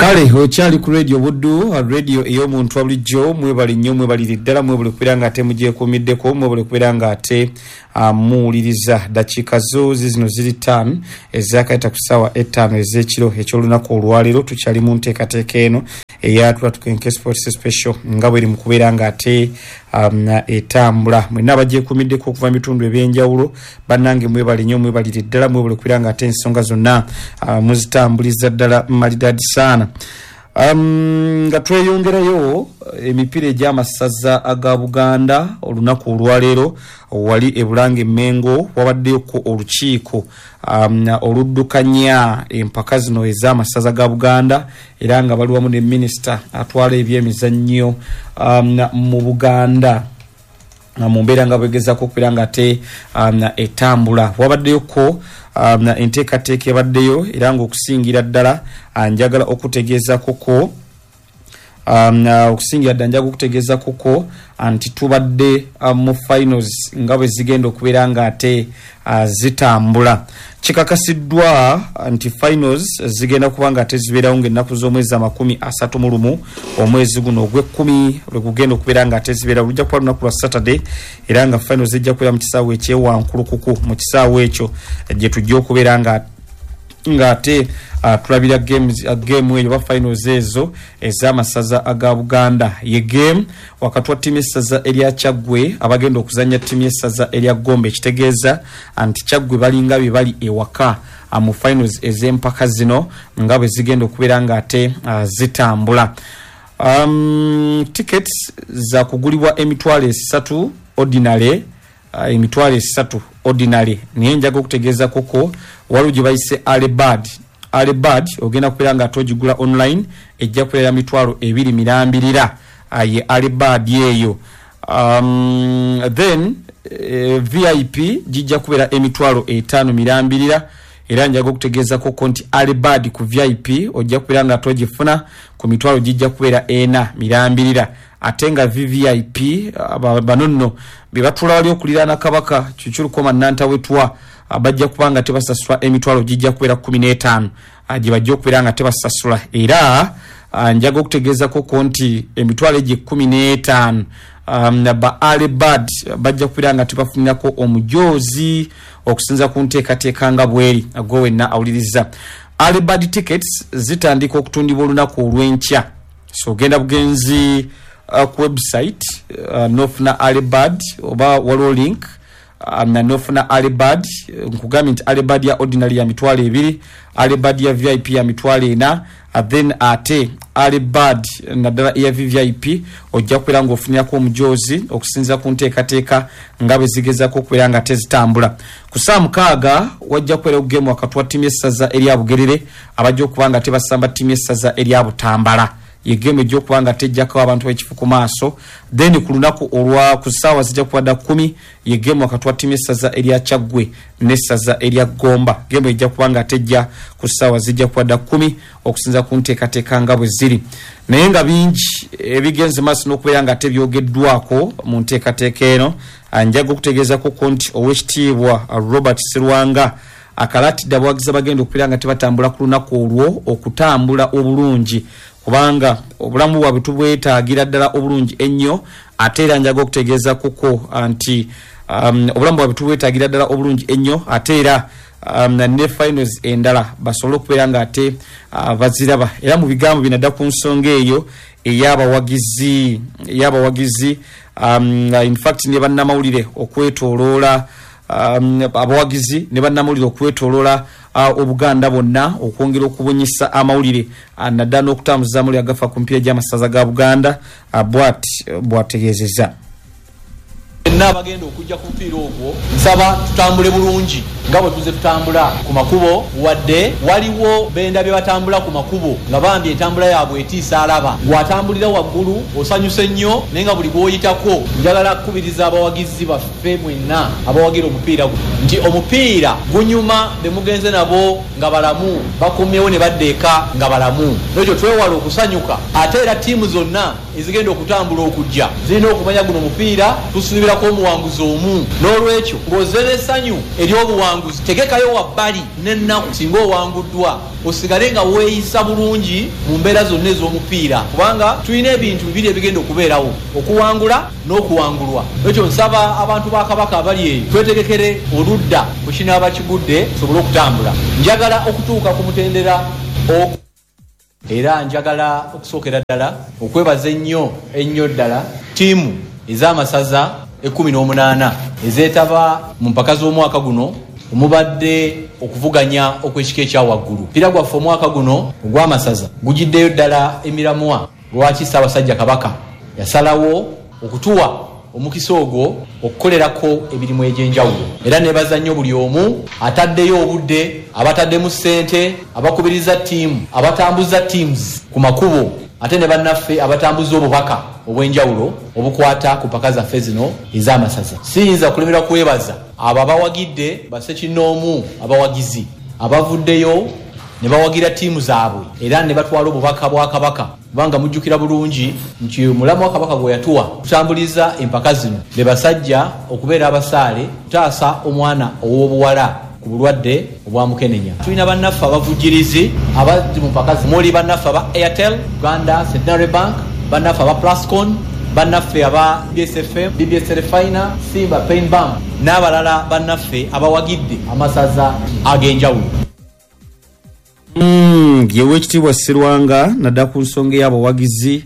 Kale okyali ku Radio Buddu, radio ey'omuntu wabulijjo. Mwebale nnyo, mwebalire ddala, mwebale kubeera nga ate mugyekuumiddeko, mwebale kubeera nga ate muwuliriza. Dakiika zo zizino ziri 5 ezakayita ku ssaawa 5 ez'ekiro eky'olunaku olwaleero. Tukyali mu nteekateeka eno eya Tulatukenke Sports Special nga bweri mu kubeera nga ate etambula. Mwenna abagyekuumiddeko okuva mu bitundu ebyenjawulo, bannange mwebale nnyo, mwebalire ddala, mwebale kubeera nga ate ensonga zonna muzitambuliza ddala malidadi saana. Nga tweyongerayo emipiira egy'amasaza aga Buganda, olunaku olwaleero wali e Bulange Mengo wabaddeyoko olukiiko oluddukanya empaka zino ez'amasaza ga Buganda, era nga bali wamu ne minisita atwala ebyemizannyo mu Buganda mu mbeera nga bwegezaako okubeera nga ate etambula. Wabaddeyoko enteekateeka ebaddeyo, era ng'okusingira ddala njagala okutegeezakoko okusingira ddala njagala okutegeezakoko nti tubadde mu finals nga bwe zigenda okubeera nga ate zitambula. Kikakasiddwa nti finals zigenda kuba nga ate zibeerawo ng'ennaku z'omwezi 31 omwezi guno ogw'ekkumi lwe gugenda okubeera nga ate zibeerawo. Lujja kuba lunaku lwa Saturday, era nga finals zijja kubeera mu kisaawe ekyewankulukuku. Mu kisaawe ekyo gye tujja okubeera nga ate tulabira game eyo oba finals ezo ez'amasaza aga Buganda. Ye game wakati wa ttiimu y'essaza erya Kyaggwe abagenda okuzannya ttiimu y'essaza erya Gombe, ekitegeeza nti Kyaggwe balinga bye bali ewaka mu finals ez'empaka zino nga bwe zigenda okubeera nga ate zitambula. Tickets za kugulibwa 30,000 ordinary, 30,000 ordinary. Naye njaga okutegeeza koko waliwo gye bayise early bird. Early bird ogenda kubeera nga ate ogigula online, ejja kubeera 20,000 mirambirira, ye early bird eyo. Then VIP gijja kubeera 50,000 mirambirira. Era njaga okutegeeza koko nti early bird ku VIP ojja kubeera nga ate ogifuna ku mitwalo gijja kubeera 4 mirambirira. Ate nga VVIP bano nno be batuula wali okuliraana Kabaka Kikirukoma Nantawetwa, bajja kuba nga tebasasula emitwalo gijja kubeera 15 gye bajja okubeera nga tebasasula. Era njaga okutegeeza koko nti emitwalo egyo 15 ba early bird bajja kubeera nga tebafunirako omujoozi okusinza ku nteekateeka nga bweri. Gwe wenna awuliriza, early bird tickets zitandika okutundibwa olunaku olw'enkya. So ogenda bugenzi ku website nofuna early bird, oba waliwo link nofuna early bird. Nkugambye nti early bird ya ordinary ya 20,000, early bird ya VIP ya 40,000, then ate early bird naddala eya VVIP ojja kubeera ng'ofunirako omujoozi okusinziira ku nteekateeka nga bwe zigezaako okubeera nga tezitambula. Ku ssaawa 6 wajja kubeerawo game wakati wa ttiimu y'essaza erya Bugerere abajja okuba nga tebasamba ttiimu y'essaza erya Butambala. Ye game ejja okuba nga tejjako abantu b'ekifo ku maaso. Then ku lunaku olwa ku ssaawa zijja kuba dda 10, ye game wakati wa ttiimu y'essaza erya Kyaggwe n'essaza erya Gomba. Game ejja kuba nga tejja ku ssaawa zijja kuba dda 10 okusinza ku nteekateeka nga bwe ziri. Naye nga bingi ebigenze maaso n'okubeera nga tebyogeddwako mu nteekateeka eno. Njaga okutegeezako nti Oweekitiibwa Robert Serwanga akalatidde abawagizi abagenda okubeera nga tebatambula ku lunaku olwo okutambula obulungi, kubanga obulamu bwabwe tubwetaagira ddala obulungi ennyo. Ate era njaga okutegeeza kuko nti obulamu bwabwe tubwetaagira ddala obulungi ennyo, ate era ne finals endala basobole okubeera nga ate baziraba. Era mu bigambo bino adda ku nsonga eyo ey'abawagizi in fact ne bannamawulire okwetooloola abawagizi ne bannamawulire okwetooloola Obuganda bwonna okwongera okubunyisa amawulire naddala n'okutambuza amawulire agafa ku mipiira gy'amasaza ga Buganda, bw'ati bw'ategeezezza. Fenna abagenda okujja ku mupiira ogwo nsaba tutambule bulungi nga bwe tuzze tutambula ku makubo, wadde waliwo bendabye batambula ku makubo nga bambi entambula yaabwe etiisa alaba. Gw'atambulira waggulu osanyuse nnyo naye nga buli gw'oyitako. Njagala kukubiriza abawagizi baffe mwenna abawagira omupiira guno nti omupiira gunyuma be mugenze nabo nga balamu bakomyewo ne badda eka nga balamu. Noolwekyo twewale okusanyuka ate era ttiimu zonna ezigenda okutambula okujja zirina okumanya guno omupiira tusuubira. Okuggyako omuwanguzi omu. N'olwekyo ng'ozze n'essanyu ery'obuwanguzi, tegekayo wabbali n'ennaku singa owanguddwa, osigale nga weeyisa bulungi mu mbeera zonna ez'omupiira kubanga tulina ebintu bibiri ebigenda okubeerawo, okuwangula n'okuwangulwa. N'olwekyo nsaba abantu ba Kabaka abali eyo twetegekere oludda bwe kinaaba kigudde tusobole okutambula. Njagala okutuuka ku mutendera ogwo. Era njagala okusookera ddala okwebaza ennyo ennyo ddala ttiimu ez'amasaza ekkumi n'omunaana ezeetaba mu mpaka z'omwaka guno omubadde okuvuganya okw'ekika ekya waggulu. Omupiira gwaffe omwaka guno ogw'amasaza gujiddeyo ddala emiramwa lwaki Ssaabasajja Kabaka yasalawo okutuwa omukisa ogwo okukolerako emirimu egy'enjawulo era nebaza nnyo buli omu ataddeyo obudde, abataddemu ssente, abakubiriza ttiimu, abatambuza teams ku makubo ate ne bannaffe abatambuza obubaka obw'enjawulo obukwata ku mpaka zaffe zino ez'amasaza. Siyinza kulemerwa kwebaza abo abawagidde bassekinnoomu abawagizi abavuddeyo ne bawagira ttiimu zaabwe era ne batwala obubaka bwa Kabaka Kubanga mujjukira bulungi nti omulamwa Kabaka gwe yatuwa okutambuliza empaka zino be basajja okubeera abasaale okutaasa omwana ow'obuwala ku bulwadde obwa mukenenya. Tulina bannaffe abavujjirizi abali mu mpaka zino omuli bannaffe aba Airtel, Uganda Centenary Bank, bannaffe aba Plascon, bannaffe aba BBS FM, BBS Terefayina, Simba Pain Bank n'abalala bannaffe abawagidde amasaza ag'enjawulo. Ye Owekitiibwa Sserwanga nadala ku nsonga ey'abawagizi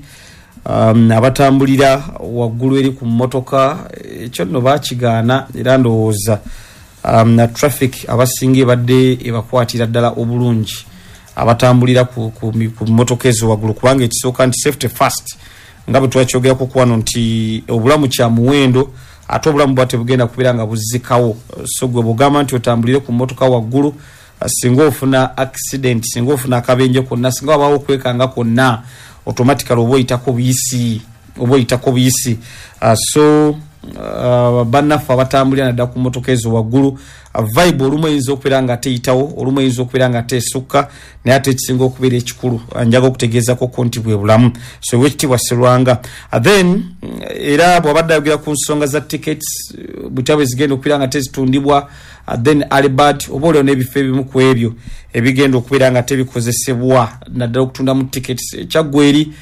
abatambulira waggulu eri ku mmotoka, ekyo nno baakigaana era ndowooza traffic abasinga ebadde ebakwatira ddala obulungi abatambulira ku, ku, ku mmotoka ezo waggulu, kubanga ekisooka nti safety first, nga bwe twakyogerako ku wano nti obulamu kya muwendo ate obulamu buba tebugenda kubeera nga buzzikawo. So gwe bw'ogamba nti otambulire ku mmotoka waggulu, Singa ofuna accident, singa ofuna akabenje konna, singa wabaawo okwekanga kwonna, automatically oba oyitako buyisi, oba oyitako buyisi. So bannaffe abatambulira naddala ku mmotoka ezo waggulu, vibe olumu eyinza okubeera nga teyitawo, olumu eyinza okubeera nga tesukka, naye ate ekisinga okubeera ekikulu njaga okutegeezako ko nti bwe bulamu. So Owekitiibwa Sserwanga then era bw'abadde ayogera ku nsonga za tickets butya bwe zigenda okubeera nga tezitundibwa, Then early bird oba oliawo n'ebifo ebimu ku ebyo ebigenda okubeera nga tebikozesebwa naddala okutundamu tickets e Kyaggwe eri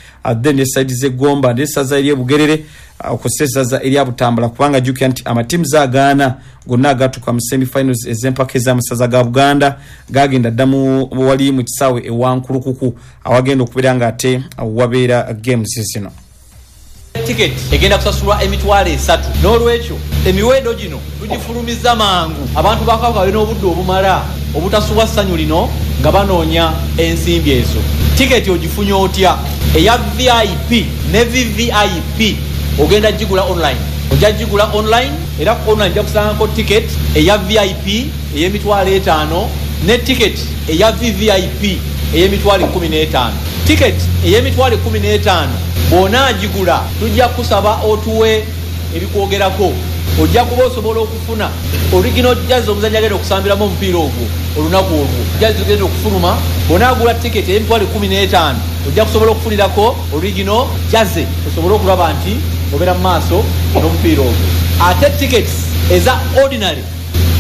then ne side z'e Gomba n'essaza ery'e Bugerere okwo essaza erya Butambala kubanga jjukira nti amatiimu agaana gonna agaatuuka mu semi finals ez'empaka ez'amasaza ga Buganda gaagenda dda mu wali mu kisaawe e Wankulukuku awagenda okubeera nga ate wabeera games zino. Tiketi egenda kusasulwa emitwalo esatu n'olwekyo emiwendo gino tugifulumizza mangu abantu ba Kabaka babe n'obudde obumala obutasubwa ssanyu lino nga banoonya ensimbi ezo. Tiketi ogifunye otya? Eya VIP ne VVIP ogenda gigula online. Ojja gigula online era ku online ojja kusangako tiketi eya VIP ey'emitwalo etaano ne tiketi eya VVIP ey'emitwalo ekkumi n'etaano. Tiketi ey'emitwalo ekkumi n'etaano bw'onaagigula tujja kukusaba otuwe ebikwogerako. Ojja kuba osobola okufuna original jersey omuzannyi agenda okusambiramu omupiira ogwo olunaku olwo. Jersey zigenda okufuluma. Bw'onaagula tiketi ey'emitwalo 15 ojja kusobola okufunirako original jersey osobole okulaba nti obeera mu maaso n'omupiira ogwo. Ate tickets eza ordinary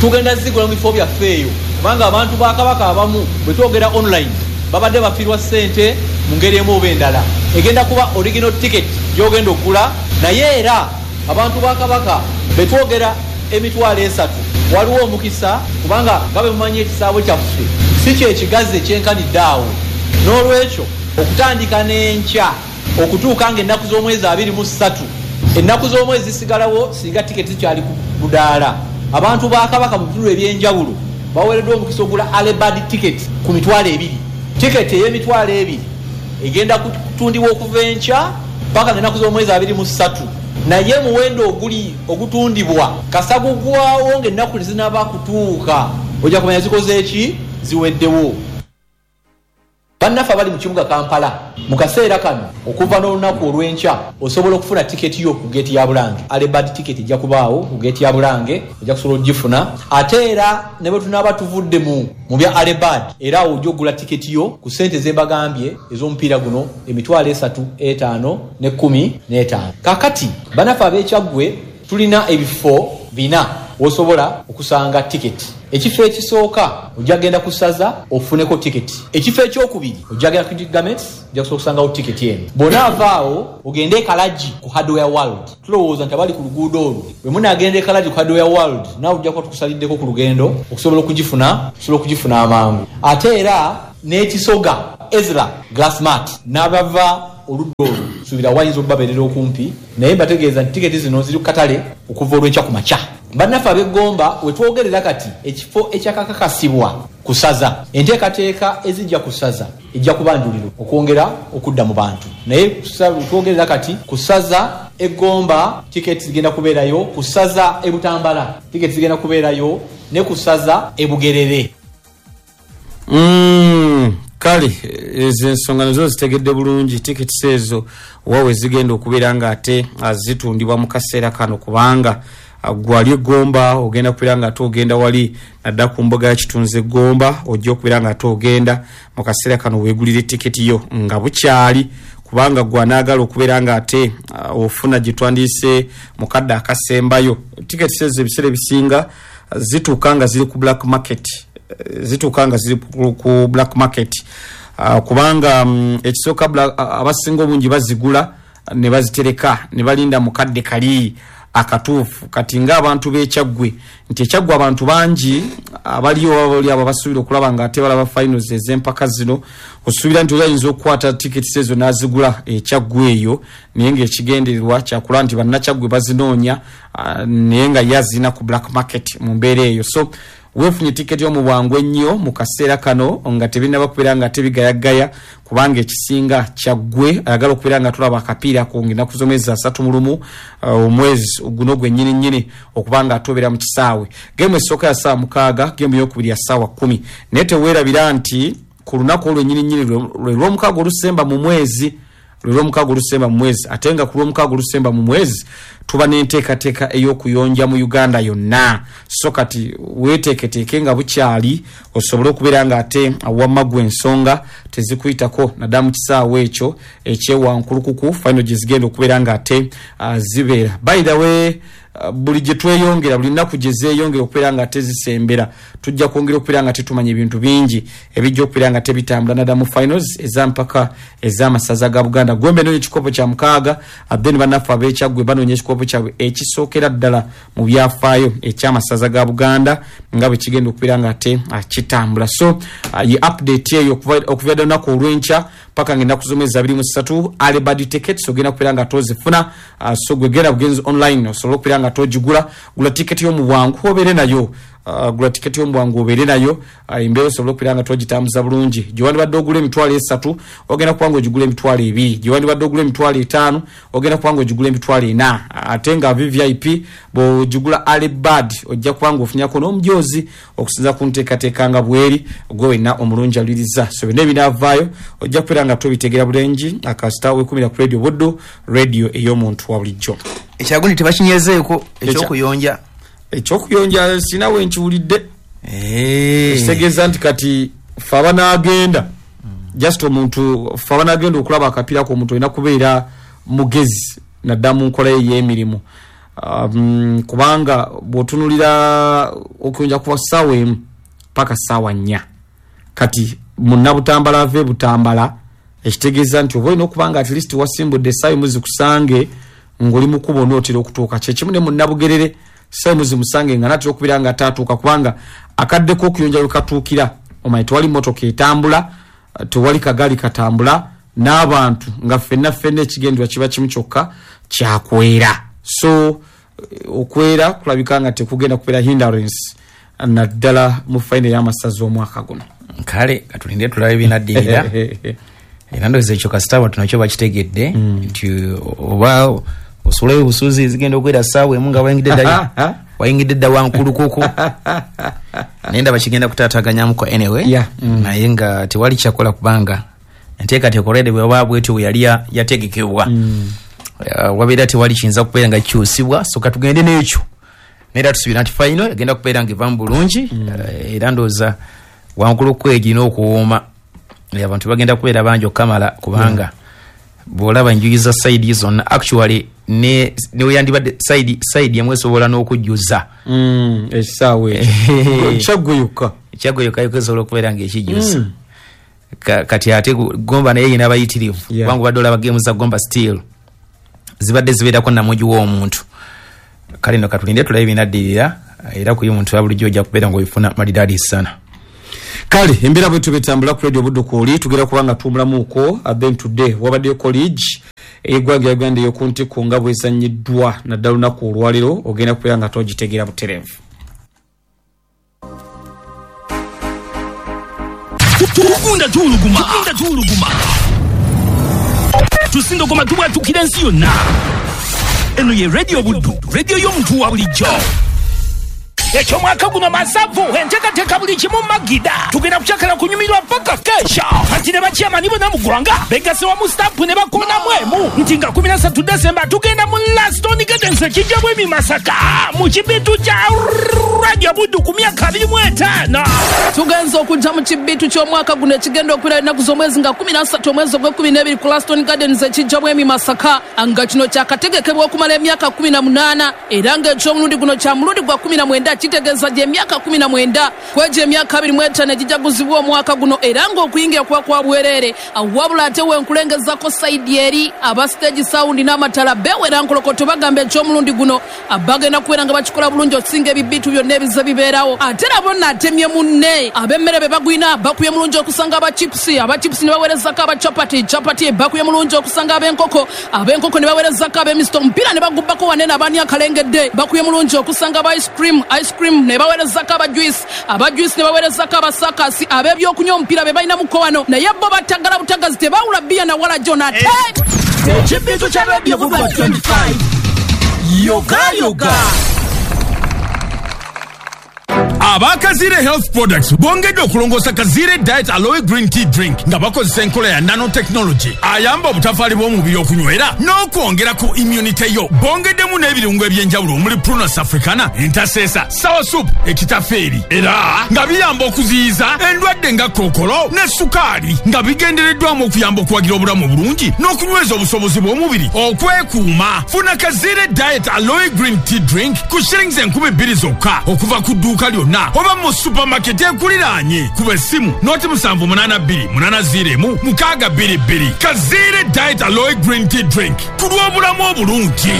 Tugenda zigula mu bifo byaffe eyo kubanga abantu ba Kabaka abamu bwe twogera online babadde bafiirwa ssente mu ngeri emu oba endala. Egenda kuba original ticket gy'ogenda okugula naye era abantu ba Kabaka be twogera emitwalo esatu waliwo omukisa kubanga nga bwe mumanyi ekisaawe kyaffe si kye kigazi ekyenkanidde awo noolwekyo okutandika n'enkya okutuuka ng'ennaku z'omwezi 23. Ennaku z'omwezi zisigalawo singa tiketi zikyali ku budaala. Abantu ba Kabaka mu bitundu eby'enjawulo baweereddwa omukisa okugula Early Bird ticket ku mitwalo ebiri. Tiketi ey'emitwalo ebiri egenda kutundibwa okuva enkya paka ng'ennaku z'omwezi 23 naye omuwendo oguli ogutundibwa kasita gugwawo ng'ennaku tezinaba kutuuka ojja kumanya zikoze ki? Ziweddewo. Bannaffe abali mu kibuga Kampala mu kaseera kano okuva n'olunaku olw'enkya osobola okufuna tiketi yo ku geeti ya Bulange. Early bird ticket ejja kubaawo ku geeti ya Bulange ojja kusobola okugifuna. Ate era ne bwe tunaaba tuvudde mu mu bya early bird era awo ojja okugula tiketi yo ku ssente ze mbagambye ez'omupiira guno emitwalo esatu etaano n'ekkumi n'etaano. Kaakati bannaffe ab'e Kyaggwe. Tulina ebifo 4 wosobola okusanga tiketi. Ekifo ekisooka ojja genda ku ssaza ofuneko tiketi. Ekifo ekyokubiri ojja genda ku Garments, ojja kusobola okusangawo tiketi eno. Bw'onaavaawo ogende e Kalagi ku Hardware World. Tulowooza nti abali ku luguudo olwo bwe munaagenda e Kalagi ku Hardware World, naawe ojja kuba tukusaliddeko ku lugendo okusobola okugifuna, osobola okugifuna amangu. Ate era n'ekisoga Ezra Glassmart n'abava oludda olwo suubira wayinza okubabeerera okumpi, naye mbategeeza nti tiketi zino ziri ku katale okuva olw'enkya ku makya. Bannaffe ab'eggomba we twogerera kati ekifo ekyakakakasibwa ku ssaza, enteekateeka ezijja ku ssaza ejja kubanjulirwa okwongera okudda mu bantu, naye twogerera kati ku ssaza eggomba tiketi zigenda kubeerayo, ku ssaza e Butambala tiketi zigenda kubeerayo, ne ku ssaza e Bugerere. Kale ezo ensonga nazo zitegedde bulungi. Tiketi ezo wawe zigenda okubeera nga ate zitundibwa mu kaseera kano, kubanga gwali eggomba ogenda kubeera nga ate ogenda wali nadda ku mbuga ya Kitunzi eggomba, ojja okubeera nga ate ogenda mu kaseera kano weegulire tiketi yo nga bukyali, kubanga gwanaagala okubeera nga ate ofuna gye twandiise mu kadde akasembayo. Tiketi ezo ebiseera ebisinga zituuka nga ziri ku black market, zituuka nga ziri ku black market, kubanga ekisooka abasinga obungi bazigula ne bazitereka ne balinda mu kadde kali akatuufu. Kati ng'abantu b'Ekyaggwe, nti Ekyaggwe abantu bangi abaliyo bali abo basuubira okulaba nga ate balaba finals ez'empaka zino, osuubira nti oli ayinza okukwata tiketi ezo n'azigula Ekyaggwe eyo, naye ng'ekigendererwa kyakulaba nti bannakyaggwe bazinoonya, naye nga ye azirina ku black market mu mbeera eyo. So weefunye tiketi yo mu bwangu ennyo mu kaseera kano nga tebinnaba kubeera nga tebigayagaya, kubanga ekisinga Kyaggwe ayagala okubeera nga tulaba akapiira ako ng'ennaku z'omwezi 31 omwezi guno gwennyini nnyini okuba nga atobeera mu kisaawe. Geemu esooka ya ssaawa 6, geemu eyokubiri ya ssaawa 10. Naye teweerabira nti ku lunaku olwo nnyini nnyini lwe lw'omukaaga olusemba mu mwezi, lwe lw'omukaaga olusemba mu mwezi, ate nga ku lw'omukaaga olusemba mu mwezi tuba n'enteekateeka ey'okuyonja mu Uganda yonna. So kati weeteeketeeke nga bukyali osobole okubeera nga ate wamma gwe ensonga tezikuyitako naddala mu kisaawe ekyo ekyewankulukuku final gye zigenda okubeera nga ate zibeera. By the way, buli gye tweyongera, buli nnaku gye zeeyongera okubeera nga ate zisembera, tujja kwongera okubeera nga tetumanya ebintu bingi ebijja okubeera nga tebitambula naddala mu finals ez'empaka ez'amasaza ga Buganda. Gombe enoonya ekikopo kya 6, then bannaffe ab'Ekyaggwe banoonya ekikopo kyabwe ekisookera ddala mu byafaayo eky'amasaza ga Buganda nga bwe kigenda okubeera nga ate kitambula. So ye update eyo okuva ddala lunaku olw'enkya paka ng'ennaku z'omwezi 23 Alebad tickets ogenda kubeera nga tozifuna. So gwe genda bugenzi online osobola okubeera nga togigula. Gula tiketi yo mu bwangu obeere nayo, gula tiketi yo mu bwangu obeere nayo, embeera osobola okubeera nga togitambuza bulungi. Gye wandibadde ogula 300,000 ogenda kuba nga ogigula 200,000, gye wandibadde ogula 500,000 ogenda kuba nga ogigula 400,000. Ate nga VVIP bw'ogigula Alebad ojja kuba nga ofunyako n'omujoozi okusinza ku nteekateeka nga bweri gwe wenna omulungi aliriza. So byonna ebinaavaayo ojja kubeera nga tobitegera bulungi akasita weekumira ku Radio Buddu, radio ey'omuntu wa bulijjo. Ekyagundi tebakinyezeeko ekyokuyonja. Ekyokuyonja sina we nkiwulidde. Ekitegeeza nti kati ffe abanaagenda just omuntu ffe abanaagenda okulaba akapiira ko omuntu olina kubeera mugezi naddala mu nkola ye ey'emirimu, kubanga bw'otunuulira okuyonja kuva ssaawa 1 paka ssaawa 4, kati munnabutambala ava e Butambala, ekitegeeza nti oba olina okuba nga at least wasimbudde essaawa 1 zikusange ng'oli mu kkubo onootera okutuuka. Kyekimu ne munnabugerere ssaawa 1 zimusange nga naatera okubeera nga ataatuuka, kubanga akadde k'okuyonja we katuukira omanyi tewali mmotoka etambula, tewali kagaali katambula, n'abantu nga ffenna ffenna ekigendererwa kiba kimu kyokka kyakwera. So okwera kulabika nga tekugenda kubeera hindrance naddala mu final y'amasaza omwaka guno. Kale katulinde tulabe binaddirira. Era ndowooza ekyo kasita abantu nakyo bakitegedde nti oba osulayo obusuuzi zigenda okuwera ssaawa 1 nga wayingidde dda wankulukuku, naye ndaba kigenda kutaataganyamuko anyway. Naye nga tewali kyakola kubanga enteekateeka already bweba bwetyo bwe yali yategekebwa, wabeera tewali kiyinza kubeera nga kikyusibwa. So katugende n'ekyo, naye era tusuubira nti final egenda kubeera nga evamu bulungi. Era ndowooza wankulukuku egirina okuwooma, abantu bagenda kubeera bangi okukamala, kubanga Bw'olaba enjuyi za side zonna, actually ne weyandibadde side emu esobola n'okujjuza ekisaawe ekyo Kyaggwe yokka. Kyaggwe yokka esobola okubeera ng'ekijjuza. Kati ate Gomba naye yina abayitirivu, kubanga obadde olaba game za Gomba still zibadde zibeerako namugi w'omuntu. Kale no katulinde tulabe ebinaddirira, era kuyi muntu wa bulijjo ojja kubeera ng'obifuna malidaadi sana. Kale embeera bwe tubetambula ku Radio Buddu kwoli tugera kubanga tuwumulamuuko. Then today wabaddeyo college ey'eggwanga ya Uganda ey'oku ntikko nga bwezannyiddwa naddala lunaku olwaleero, ogenda kubeera nga togitegeera butereevu. Tugunda tuwuluguma, tugunda tuwuluguma, tusindogoma tubwatukira ensi yonna. Eno ye Radio Buddu, radio y'omuntu wa bulijjo. Ekyomwaka guno masavu enteekateeka buli kimu magida, tugenda kukyakala kunyumirwa paka kesha. Kati ne bakyamani bonna mu ggwanga begase wamu stampu ne bakoonamu emu nti nga 13 Desemba tugenda mu Laston Gardens ekijja bwemi Masaka mu kibitu kya Radio Buddu ku myaka 25. Tugenza okujja mu kibitu ky'omwaka guno ekigenda okubeera ennaku z'omwezi nga 13 omwezi ogw'ekkumi n'ebiri ku Laston Gardens ekijja bwemi Masaka, nga kino kyakategekebwa okumala emyaka 18, era ng'ekyomulundi guno kya mulundi gwa 19, kitegeeza gy'emyaka 19 kwegyo emyaka 25 egijaguzibwa omwaka guno, era ng'okuyingira kuba kwa bwereere. Wabula ate wenkulengezako side eri aba stage sound n'amatala bewera nkolokoto bagamba ekyomulundi guno bagenda kubeera nga bakikola bulungi okusinga ebibitu byonna ebize bibeerawo. Ate nabo naatemye munne ab'emmere be bagwina bakubye mulungi okusanga aba chips, aba chips ne baweerezako aba chapati, chapati bakubye mulungi okusanga ab'enkoko, ab'enkoko ne baweerezako ab'emisito, omupiira ne bagubbako wanene abaani akalengedde bakubye mulungi okusanga aba ice cream, ice cream ne baweerezako aba juice, aba juice ne baweerezako abasakasi, ab'ebyokunywa omupiira be balinamuko wano, naye bo batagala butagazi tebawula bbiya na wala jona. Ate ekibitu kya Radio Buddu 25 yoga yoga. Aba Kazire Health Products bongedde okulongoosa Kazire Diet Aloe Green Tea Drink nga bakozesa enkola ya nanotechnology ayamba obutafaali bw'omubiri okunywera n'okwongera ku immunity yo. Bongeddemu n'ebirungo eby'enjawulo omuli Prunus africana, entaseesa, sour soup, ekitafeeri, era nga biyamba okuziyiza endwadde nga kookolo ne sukaali, nga bigendereddwamu okuyamba okuwagira obulamu obulungi n'okunyweza obusobozi bw'omubiri okwekuuma. Funa Kazire Diet Aloe Green Tea Drink ku shillings 2000 zokka okuva ku dduuka lyonna oba mu supermarket ekuliraanye. Kuba essimu 078 801 622. Kazire Diet Aloe Green Tea Drink ku lw'obulamu obulungi.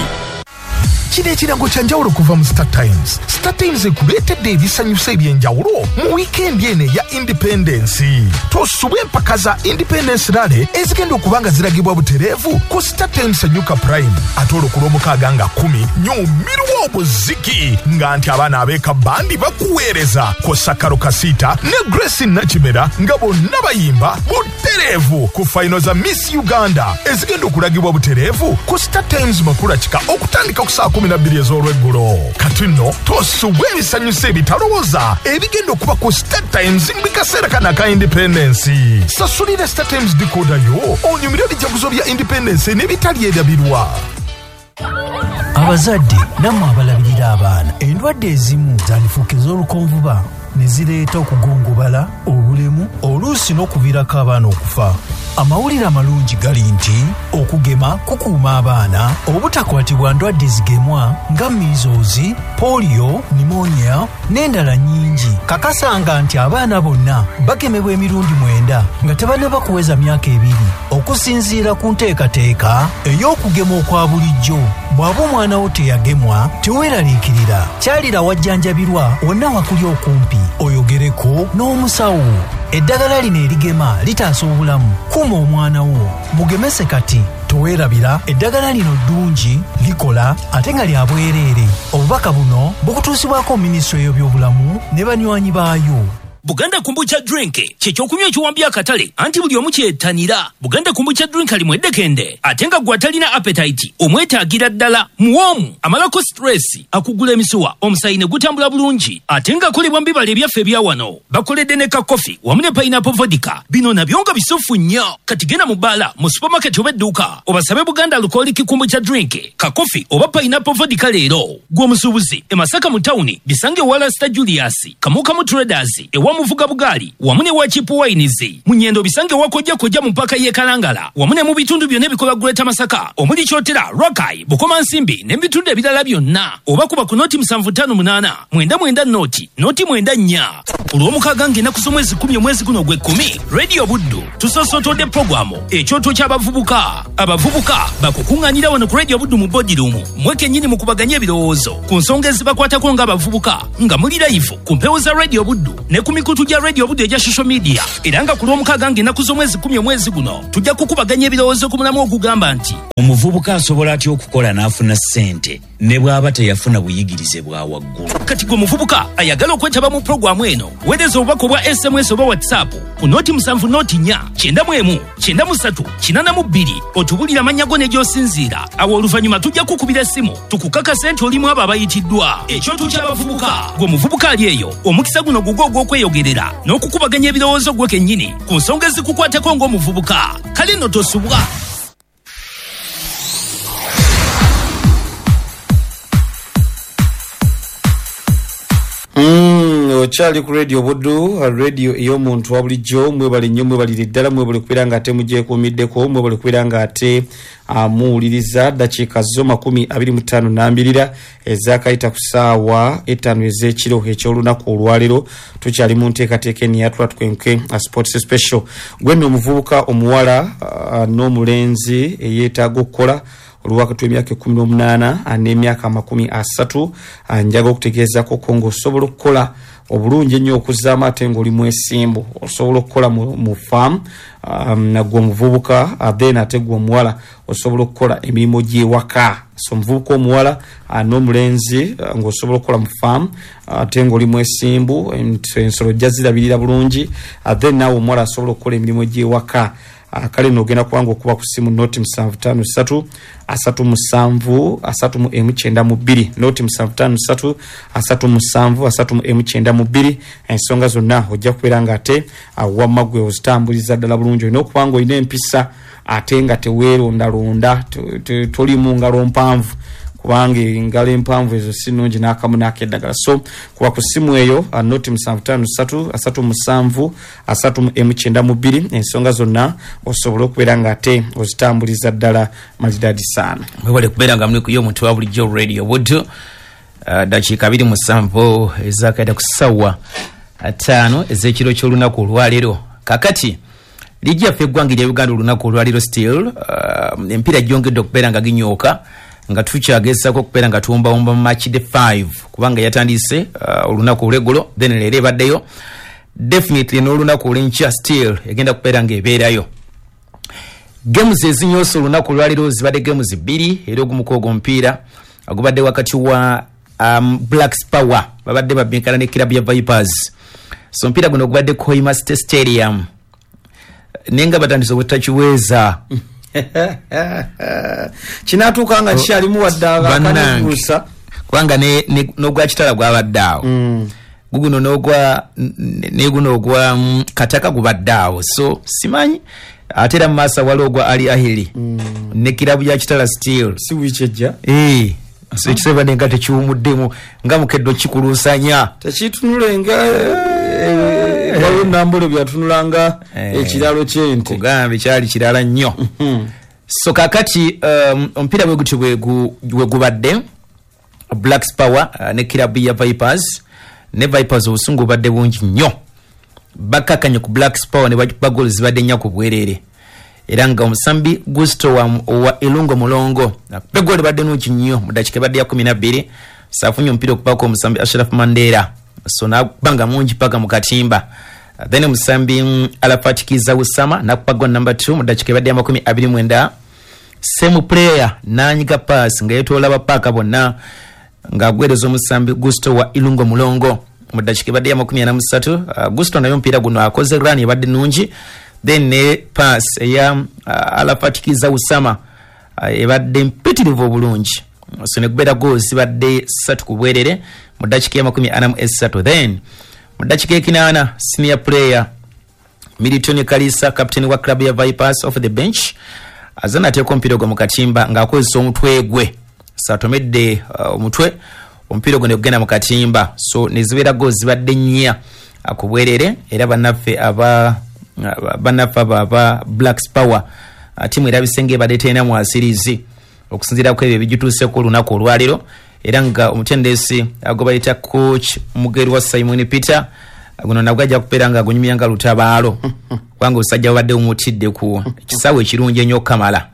Kino ekirango kya njawulo kuva mu Star Times. Star Times ekuleetedde ebisanyusa eby'enjawulo mu wiikendi eno eya Independence. Tosubwa empaka za Independence Rally ezigenda okuba nga ziragibwa butereevu ku Star Times Enyuka Prime. Ate olwo ku Lwomukaaga nga 10 nyumirwa obuziki nga nti abaana ab'eka bandi bakuweereza kw'ossa Karo Kasita ne Grace Nakimera nga bonna bayimba butereevu ku fayino za Miss Uganda ezigenda okulagibwa butereevu ku Star Times Makula Kika okutandika ku saa 12 ez'olweggulo. Kati nno tosubwa ebisanyusa ebitalowooza ebigenda okuba ku Star Times mu kaseera kano aka Independence. Sasulira Star Times decoder yo onyumire ebijaguzo bya Independence n'ebitalyerabirwa. Abazadde nammwe abalabirira abaana, endwadde ezimu zandifuuka ez'olukonvuba ne zireeta okugongobala, obulemu, oluusi n'okuviirako abaana okufa. Amawulire amalungi gali nti okugema kukuuma abaana obutakwatibwa ndwadde zigemwa nga measles, polio, pneumonia n'endala nnyingi. Kakasanga nti abaana bonna bagemebwa emirundi 9 nga tebannaba kuweza myaka 2 okusinziira ku nteekateeka ey'okugema okwa bulijjo. Bw'aba omwana wo teyagemwa, teweeraliikirira, kyalira wajjanjabirwa wonna wakuli okumpi oyogereko n'omusawo. Eddagala lino erigema litaasa obulamu. Kuuma omwana wo, mugemese kati. Toweerabira, eddagala lino ddungi, likola ate nga lya bwereere. Obubaka buno bukutuusibwako minisitule y'ebyobulamu ne banywanyi baayo. Buganda Kombucha Drink kyekyokunywa ekiwambye akatale, anti buli omu kyettanira. Buganda Kombucha Drink alimu eddekende ate nga gwe atalina appetite omwetaagira ddala. Muwoomu, amalako stress, akugula emisuwa, omusaayi ne gutambula bulungi, ate ng'akolebwa mu bibala ebyaffe ebya wano. Bakoledde ne ka coffee wamu ne pineapple vodka, bino nabyo nga bisufu nnyo. Kati genda mu bbaala, mu supermarket oba edduuka obasabe Buganda Alcoholic Kombucha Drink, ka coffee oba pineapple vodka leero. Gwe omusuubuzi e Masaka mu tawuni bisange ewa Lasta Julius, Kamukamu Traders, ewa Muvuga Bugaali wamu ne wa Cheap Wines. Munyendo bisange wakojja kojja mu mpaka y'e Kalangala wamu ne mu bitundu byonna ebikola Greater Masaka omuli Kyotera, Rakai, Bukomansimbi n'ebitundu ebirala byonna. Oba kuba ku noti 758 99 noti noti 94. Ku Lwomukaaga ng'ennaku z'omwezi 10 omwezi guno ogw'ekkumi, Radio Buddu tusosotodde pulogulaamu Ekyoto ky'Abavubuka. Abavubuka bakukuŋŋaanira wano ku Radio Buddu mu boardroom mwe kennyini mukubaganye ebirowoozo ku nsonga ezibakwatako ng'abavubuka nga muli live ku mpewo za Radio Buddu ne ku mikutu gya Radio Buddu egya social media. Era nga ku Lwomukaaga ng'ennaku z'omwezi 10 omwezi guno tujja kukubaganya ebirowoozo ku mulamu ogugamba nti omuvubuka asobola atya okukola n'afuna ssente ne bw'aba teyafuna buyigirize bwa waggulu. Kati gwe muvubuka ayagala okwetaba mu pulogulaamu eno, weereza obubaka obwa SMS oba WhatsApp ku noti 7 noti 4 91 93 82 otubulire amannya go ne gy'osinziira. Awo oluvannyuma tujja kukubira essimu tukukakase nti olimu abo abayitiddwa. Ekyoto ky'Abavubuka. Gwe muvubuka ali eyo, omukisa guno gugwo ogw'okweyogerera n'okukubaganya ebirowoozo gwe kennyini ku nsonga ezikukwatako ng'omuvubuka. Kale nno tosubwa. Okyali ku Radio Buddu, radio ey'omuntu wa bulijjo. Mwebale nnyo, mwebalire ddala, mwebale kubeera nga ate mugyekuumiddeko, mwebale kubeera nga ate muwuliriza. Dakiika zo 25 nambirira ezakayita ku ssaawa 5 ez'ekiro eky'olunaku olwaleero. Tukyali mu nteekateeka eno eyatula tukwenke sports special. Gwe nno omuvubuka omuwala n'omulenzi eyeetaaga okukola olwakati w'emyaka 18 n'emyaka 30, njaga okutegeezako ko ng'osobola okukola obulungi ennyo okuzzaamu ate ng'oli mwesimbu. Osobola okukola mu faamu nagwe omuvubuka, then ate gwe omuwala osobola okukola emirimu gy'ewaka. So omuvubuka omuwala n'omulenzi ng'osobola okukola mu faamu ate ng'oli mwesimbu, ensolo ojja zirabirira bulungi, then naawe omuwala asobola okukola emirimu gy'ewaka. Kale nogenda kubanga okuba ku simu noti 753 37 3192 noti 753 37 3192. Ensonga zonna ojja kubeera nga ate wamma gwe ozitambuliza ddala bulungi. Olina okuba nga olina empisa ate nga teweerondalonda, toli mu ngalo mpanvu, kubanga engalo empanvu ezo si nnungi n'akamu n'akeddagala. So kuba ku simu eyo noti 753 37 3192 ensonga zonna osobola okubeera nga ate ozitambuliza ddala malidadi sana. Mwebale kubeera nga muli ku y'omuntu wa bulijjo Radio Buddu. Dakiika 27 ezakaita ku ssaawa 5 ez'ekiro ky'olunaku olwaleero. Kakati liigi yaffe eggwanga erya Uganda olunaku olwaleero still emipiira gyongedde okubeera nga ginyooka nga tukyagezaako okubeera nga tuwombawomba mu match day 5 kubanga yatandise olunaku olw'eggulo, then leero ebaddeyo definitely n'olunaku olw'enkya still egenda kubeera ng'ebeerayo. Games ezinyoose olunaku olwaleero zibadde games 2 era ogumuko ogw'omupiira ogubadde wakati wa Black Power babadde babinkana ne club ya Vipers. So omupiira guno ogubadde Kohima State Stadium naye nga batandise obutakiweeza kinatuuka nga kikyalimu wadde akanyusa kubanga n'ogwa Kitala gwabadde awo, guguno n'ogwa neguno ogwa Kataka gubadde awo. So simanyi ate era mu maaso waliwo ogwa Ali Ahili ne kirabu ya Kitala still si wiiki ejja. So ekisebadde nga tekiwumuddemu nga mukeddo kikuluusanya tekitunule nga waliwo nambole byatunulanga ekiralo ky'ente kugambe kyali kirala nnyo. So kakati omupiira bwe gutyo bwe gubadde Black Power ne kirabu ya Vipers, ne Vipers obusungu bubadde bungi nnyo, bakakanye ku Black Power ne bakuba goals zibadde nnya ku bwereere. Era nga omusambi Gusto wa Elungo Mulongo akuba egoolo ebadde nnungi nnyo mu ddakiika ebadde ya 12 saafunye omupiira okubaako omusambi Ashraf Mandela, so n'akuba nga mungi paka mu katimba. Then omusambi Arafat Kiza Usama n'akuba goal number 2 mu ddakiika ebadde ya 29. Same player n'anyiga pass nga yeetoola bapaaka bonna ng'agwereza omusambi Gusto wa Ilungo Mulongo mu ddakiika ebadde ya 43. Gusto naye omupiira guno akoze run ebadde nnungi, then ne pass eya Arafat Kiza Usama ebadde mpitirivu obulungi, so ne kubeera goals zibadde 3 ku bwerere mu ddakiika ya 43. Then mu ddakiika 80 senior player Milton Kalisa, captain wa club ya Vipers off the bench, azze n'ateeka omupiira ogwo mu katimba ng'akozesa omutwe gwe, saatomedde omutwe omupiira ogwo ne gugenda mu katimba, so ne zibeera goals zibadde 4 Ku bwerere era bannaffe aba bannaffe abo aba Blacks Power, tiimu erabise nga ebadde terina mwasirizi okusinziira ku ebyo ebigituuseko olunaku olwaleero, era nga omutendesi gwe bayita coach Mugerwa Simon Peter, guno nabwo ajja kubeera nga agunyumya nga lutabaalo, kubanga obusajja bubadde bumutidde ku kisaawe ekirungi ennyo okukamala.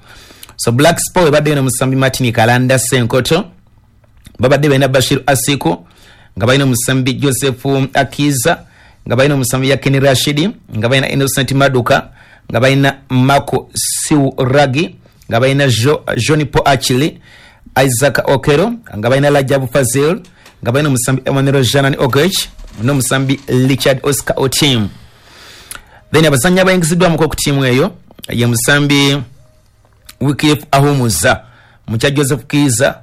So Blacks Power ebaddeyo nomusambi Martin Kalanda Senkoto, babadde balina Bashir Asiko, nga balina omusambi Joseph Akiza, nga balina omusambi Yakini Rashidi, nga balina Innocent Maduka, nga balina Mako Siuragi, nga balina John Paul Achili, Isaac Okero, nga balina Rajabu Fazil, nga balina omusambi Emmanuel Janan Ogech n'omusambi Richard Oscar Otim. Then abazannyi abayingiziddwamuko ku ttiimu eyo ye musambi Wycliffe Ahumuza mukya Joseph Kiza.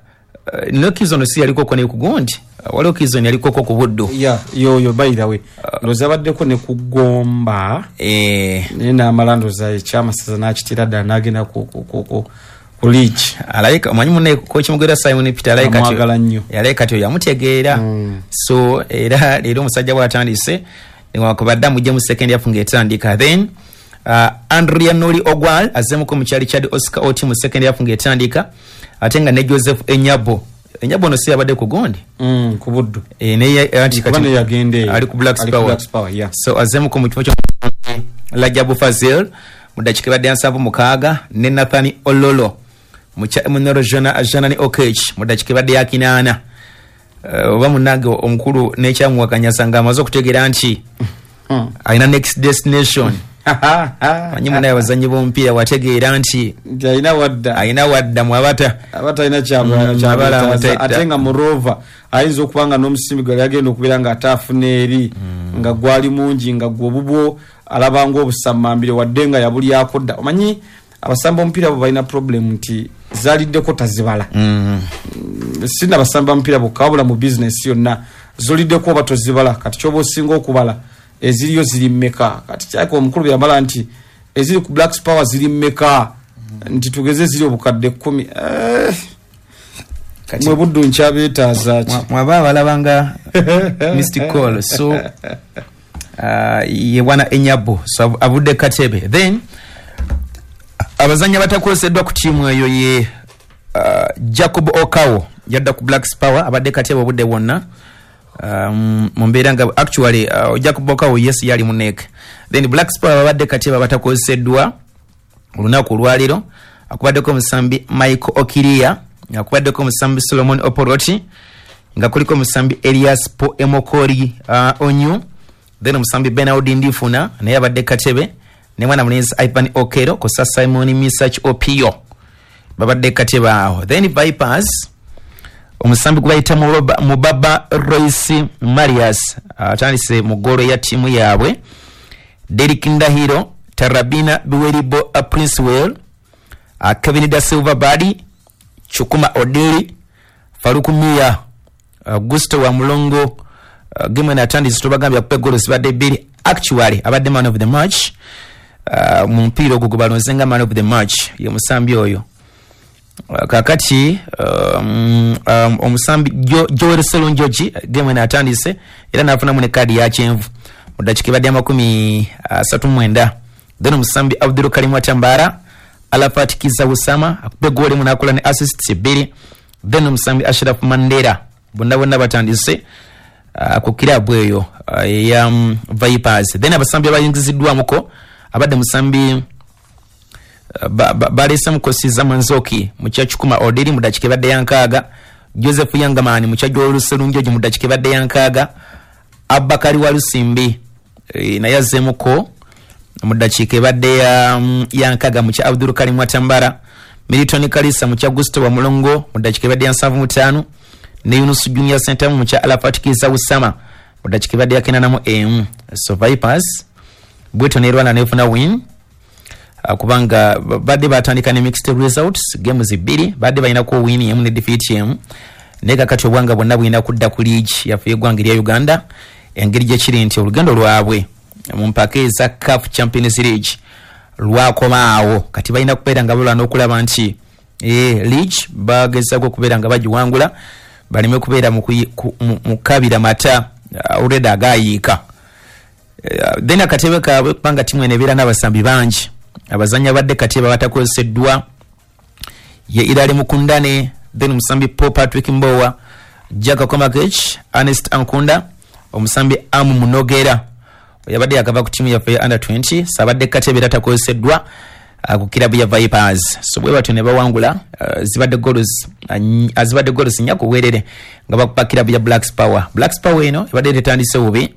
No Kiza ono si yalikoko ne ku gundi, waliwo Kiza ono yalikoko ku Buddu. Ya, yoyo by the way ndowooza abaddeko ne ku Gomba, naye n'amala ndowooza ekyamasaza n'akitira ddala n'agenda ku league. Alayika omanyi munne coach Mugerwa Simon Peter alayika Amwagala nnyo. Alayika kati oyo yamutegeera. So era leero omusajja bw'atandise, newankubadde amugye mu second half ng'etandika. Then Andrea Noli Ogwal azzemuko mu kya Richard Oscar Oti mu second half ng'etandika, ate nga ne Joseph Enyabo. Enyabo ono si yabadde ku gundi? Ku Buddu. Naye anti Kuba kati naye yagenda eyo. Ali ku Blacks Ali ku Power. Blacks Power, yeah. So azzemuko mu kifo kya Rajabu Fazil mu dakiika ebadde ya 76, ne Nathan Ololo mu kya Emmanuel Janani Okech mu dakiika ebadde ya 80. Oba munnange omukulu n'ekyamuwakanyasa ng'amaze okutegeera nti alina next destination. Manyi munaye abazannyi b'omupiira wategeera nti nti alina wadda, alina wadda mwabata aba talina abala kyabwetaaza. amataita. Ate nga murova ayinza okuba nga n'omusimbi gwali agenda okubeera nga ate afuna eri nga gwali mungi, nga gwe obubwo alaba ngaobusammambire, wadde nga yabulyako dda. Omanyi abasamba omupiira bo balina problem nti zaliddeko tazibala. Sina basamba mupiira bokka, wabula mu bizinesi yonna zoliddeko oba tozibala. Kati kyoba osinga okubala eziriyo ziri mmeka? Kati kyaka omukulu bwe yamala nti eziri ku Blacks Power ziri mmeka, nti tugeze ziri obukadde 10. Kati- Mwe Buddu nkyabeetaaza ki? Mwaba abalabanga missed call. So ye bwana Enyabo, so avudde katebe. Then abazannyi abatakozeddwa ku ttiimu eyo ye Jacob Okawo, yadda ku Blacks Power, abadde katebe obudde bwonna, mu mbeera nga actually Jacob Okawo yes yali muneek. Then Blacks Power babadde katebe abatakozeddwa olunaku olwaleero akubaddeko omusambi Michael Okiria, akubaddeko omusambi Solomon Oporoti, nga kuliko omusambi Elias Po Emokori Onyu, then omusambi Benaud Ndifuna naye abadde katebe, ne mwana mulenzi Ivan Okero kosa Simon Misach Opio babadde katebe awo. Then Vipers, omusambi gwe bayita Mubaba Royce Marius atandise mu ggoolo ya ttiimu yaabwe, Derik Ndahiro, Tarabina Biweribo, Princewell, Kevin Da Silva Badi, Chukuma Odili, Faruku Mia, Gusto wa Mulongo. Game eno atandise, tubagambye akupa eggolo zibadde bbiri. Actually abadde man of the match mu mupiira ogwo gwe balonze nga man of the match ye musambi oyo. Kakati omusambi Joel Serunjogi game eno atandise era n'afunamu ne kaadi ya kyenvu mu ddakiika ebadde 39. Then omusambi Abdul Karim Watambara, Alafat Kiza Usama akuba egoolo emu n'akola ne assists bbiri. Then omusambi Ashraf Mandera, bonna bonna batandise ku kirabu eyo eya Vipers. Then abasambi abayingiziddwamuko abadde musambi baleesemuko Siza Manzoki mu kya Kikuma Odiri mu ddakiika ebadde ya 60, Joseph Yangamani mu kya Joel Serunjogi mu ddakiika ebadde ya 60, Abakari Walusimbi naye azzeemuko mu ddakiika ebadde ya 60 mu kya Abdul Karim Watambara, Milton Kalisa mu kya Gusto wa Mulongo mu ddakiika ebadde ya 75, ne Yunus Junior Sentamu mu kya Alafat Kiza Usama mu ddakiika ebadde ya 81. So Vipers bwetyo nerwana nefuna win, kubanga badde batandika ne mixed results, games bbiri badde balinako win emu ne defeat emu, naye kakati obwanga bwonna bulina kudda ku league yaffe yeggwanga erya Uganda, engeri gyekiri nti olugendo lwabwe mu mpaka eza CAF Champions League lwakomaawo. Kati balina kubeera nga balwana okulaba nti league bagezaako okubeera nga bagiwangula, baleme kubeera mu kabira mata already agayiika. Then akatebe kaabwe, kubanga timu eno ebeera n'abasambi bangi, abazanyi abadde katebe abatakozeseddwa ye Irale Mukundane, then omusambi Paul Patrick Mbowa, Jack Komakech, Ernest Ankunda, omusambi Amu Munogera yabadde yakava ku timu yaffe ya under 20, sabadde katebe era takozeseddwa ku kirabu ya Vipers. So bwe batyo ne bawangula, zibadde goals 4-0 nga bakuba kirabu ya Blacks Power. Blacks Power eno ebadde tetandise bubi,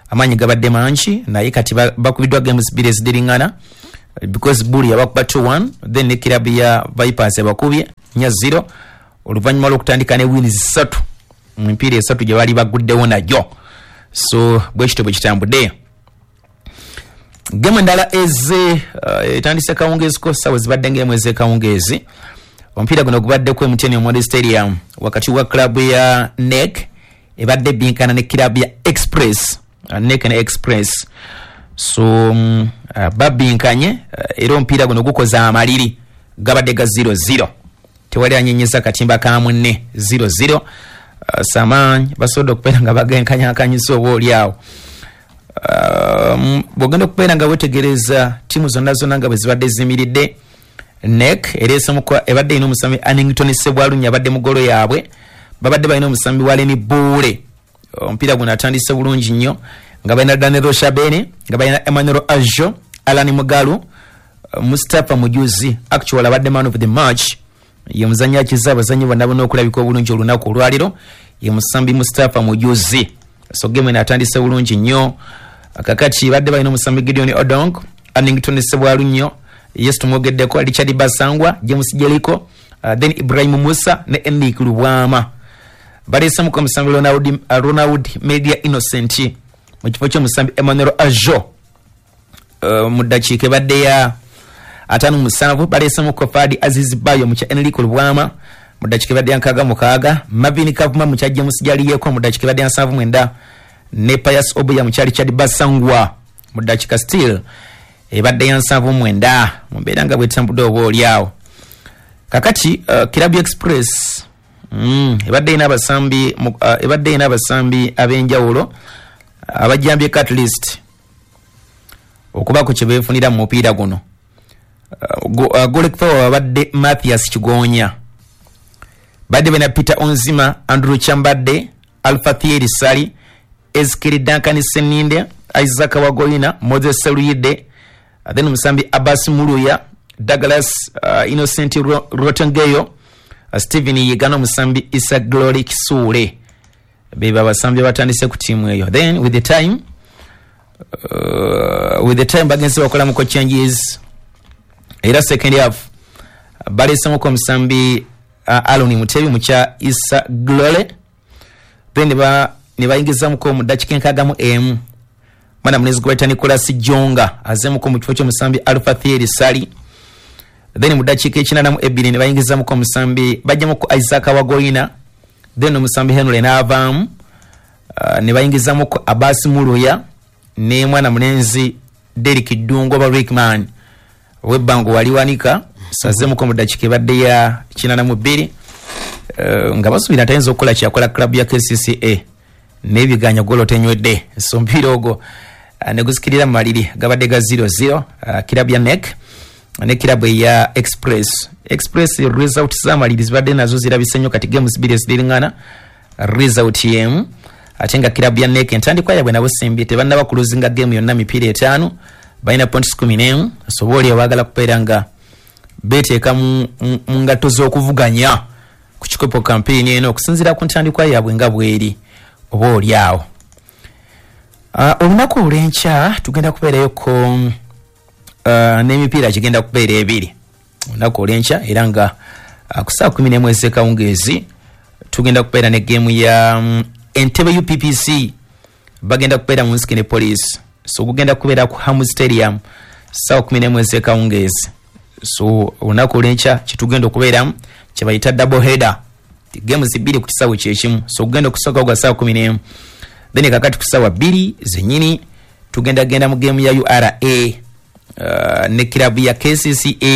amaanyi gabadde mangi, naye kati bakubiddwa games 2 eziddiringana, because Buli yabakuba 2-1, then ne kirabu ya Vipers ebakubye 4-0 oluvannyuma lw'okutandika ne wins 3 mu mipiira 3 gye baali baguddewo nagyo. So bwe kityo bwe kitambudde. Gemu endala eze etandise kawungeeziko, ssaawa zibadde ng'emu ez'ekawungeezi. Omupiira guno gubaddeko MTN Omondi Stadium wakati wa club ya NEC ebadde binkana ne club ya Express, NEC ne Express. So babinkanye, era omupiira guno gukoze amaliri, gabadde ga 0-0, tewali anyenyeza katimba ka munne, 0-0. Samanyi basobodde okubeera nga bagenkanyakanyisa oba oli awo. Bw'ogenda okubeera nga wetegereza ttiimu zonna zonna nga bwe zibadde zimiridde, NEC ereesemuko ebadde erina omusambi Annington Sebwalunya abadde mu ggolo yaabwe, babadde balina omusambi wa Leni Buule. Omupiira guno atandise bulungi nnyo nga balina Daniel Shabene, nga balina Emmanuel Ajo, Alan Mugalu, Mustapha Mujuzi actual abadde man of the match, ye muzannyi akiza abazannyi bonna bonna okulabika obulungi olunaku olwaliro, ye musambi Mustapha Mujuzi. So game eno atandise bulungi nnyo. Kakati badde balina omusambi Gideon Odong, Annington Sebwalunnyo, yes tumwogeddeko, Richard Basangwa, James Jeliko, then Ibrahim Musa ne Enric Lubwama. Baleesemuko omusambi Ronald Media Innocent mu kifo ky'omusambi Emmanuel Ajo. Mu ddakiika ebadde ya 57 baleesemuko Fadi Aziz Bayo mu kya Enric Lubwama mu ddakiika ebadde ya 66, Marvin Kavuma mu kya James Jaliyeko mu ddakiika ebadde ya 79, ne Pius Obuya mu kya Richard Basangwa mu ddakiika still ebadde ya 79. Mu mbeera nga bwetambudde oba oli awo. Kakati Club Express ebadde erina abasambi ebadde erina abasambi ab'enjawulo abajjambyeko at least okubaako kye beefunira mu mupiira guno. Goalkeeper babadde Mathias Kigonya, badde balina Peter Onzima, Andrew Kyambadde, Alpha Thierry Sali, Ezekiel Duncan Seninde, Isaac Wagoina, Moses Seluyide, then omusambi Abbas Muluya, Douglas Innocent Rotengeyo, Stephen Yigano, omusambi Isa Glory Kisuule. Beba abasambi abatandise ku ttiimu eyo. Then with the time bagenze bakolamuko changes, era second half baleesemuko omusambi Alon Mutebi mu kya Isa Glory, then ne bayingizamuko mu ddakiika 61 mwana mulenzi gwe bayita Nicholas Jonga azeemuko mu kifo ky'omusambi Alpha Thierry Sali. Then mu ddakiika 82 ne bayingizamuko omusambi, bajjamuko Isaac Wagoina, then omusambi Henry n'avaamu, ne bayingizamuko Abbas Muluya ne mwana mulenzi Derrick Ddungu oba Rickman ow'ebbango wali wanika sazeemuko mu ddakiika ebadde ya 82, nga basuubira nti ayinza okukola kyeyakola club ya KCCA n'ebiganya golo tenywedde. So omupiira ogwo ne gusikirira mu maliri gabadde ga 0-0, club ya NEC ne club eya Express. Express result z'amaliri zibadde nazo zirabise nnyo, kati games 2 eziriŋŋana result y'emu, ate nga club ya NEC entandikwa yaabwe nabo simbi, tebannaba kuluzinga game yonna mipiira 5, balina points 11. So oba oli abaagala kubeera nga beeteeka mu ngatto z'okuvuganya ku kikopo campaign eno okusinziira ku ntandikwa yaabwe nga bweri oba oli awo. Olunaku olw'enkya tugenda kubeerayoko n'emipiira gigenda kubeera ebiri olunaku olw'enkya, era nga ku ssaawa 11 ez'ekawungeezi tugenda kubeera ne geemu ya Entebbe UPPC, bagenda kubeera mu nsike ne police. So gugenda kubeera ku Hamu Stadium ssaawa 11 ez'ekawungeezi. So olunaku olw'enkya kyetugenda okubeeramu kye bayita double header, games 2 ku kisaawe kyekimu. So gugenda okusooka gwa ssaawa 11, then kakati ku ssaawa 2 zennyini tugenda genda mu game ya URA ne club ya KCCA.